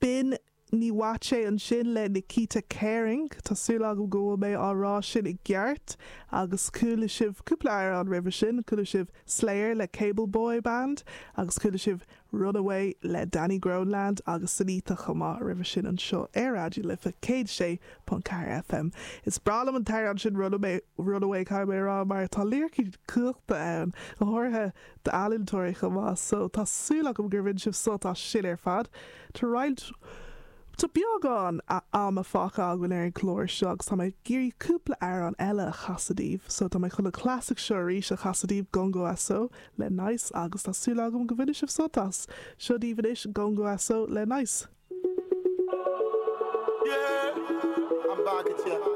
B'in Niwate ansin le Nikita Kering, tá súil agam go bhfuil mé á rá sin i gceart, agus chuala sibh cúpla amhrán roimhe sin, chuala sibh Slayer le Cable Boy Band agus chuala sibh Runaway le Danny Groenland agus Sinitta chomh maith roimhe sin anseo ar Raidió na Life 106.4 FM. Is breá liom an t-amhrán sin Runaway, Runaway caithfidh mé a rá mar tá liricí cumhachta ann, go háirithe d'ealaíontóirí chomh maith so tá súil agam gur bhain sibh sult as sin ar fad. Tá roinnt, tá beagán ama fágtha againn ar an gclár seo agus tá mé ag iarraidh cúpla amhrán eile a chasadh daoibh so tá mé chun an clasaic seo arís a chasadh daoibh, Gongo Aso le Nice agus tá súil agam go bhainfidh sibh sult as. Seo daoibh anois Gongo Aso le Nice. Yeah, I'm back at ya.